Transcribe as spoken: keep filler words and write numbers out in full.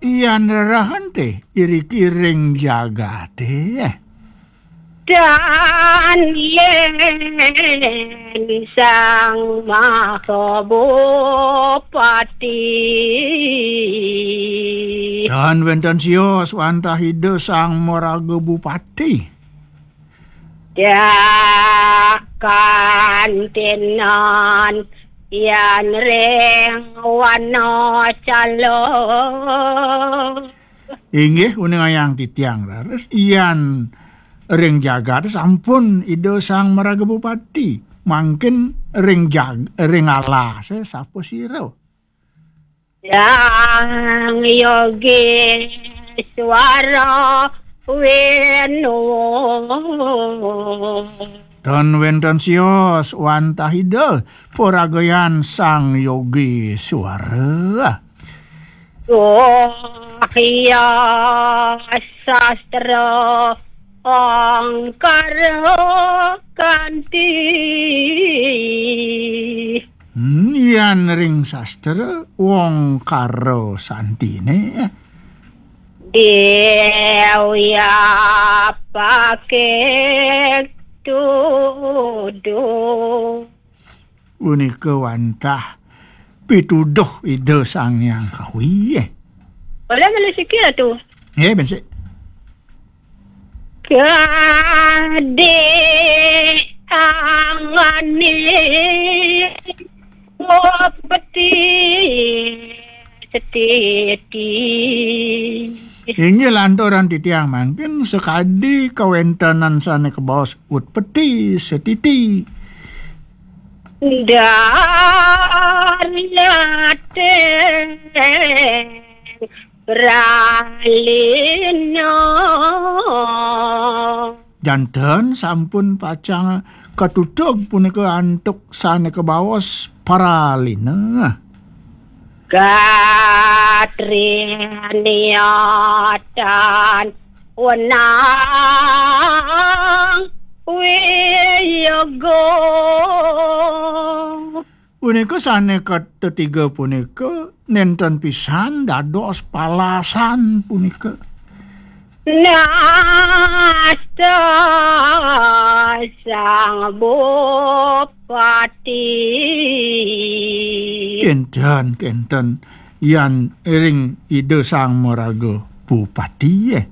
Yan rerehen te, iriki ring jagate. Dan yen Sang Maha Bupati. Dan wenten sios wantah Ida Sang Maraga Bupati. Dak kantinan yan ring wana cala. Inggih, uningayang titiang raris, yan ring jagat sampun Ida Sang Maraga Bupati. Mangkin ring jag-, ring alase sapa sira? Yang Yogi Suara Wenu. Tan wenten sios wantah Ida paragayan Sang Yogi Suara. Wahya sastra angkara kanti. Hmm, yan ring sastra wong karo santine. Dewi apake tuduh. Punika wantah pituduh Ida Sang Hyang Kawi. Boleh melu sikil tu. Nggih, ben sik. Kadek angane peti setiti. Inggih lanturan titiang mangkin sakadi kawentenan sane kabaos utpeti setiti. Darnate pralina. Janten sampun pacang katutug punika antuk sane kabaos pralina. Katriniatan wenang wiyaga. Punika sane katetiga punika nenten pisan dados palasan punika. Nasta Sang Bupati. Kenten, kenten. Yan ring Ida Sang Maraga Bupati, eh.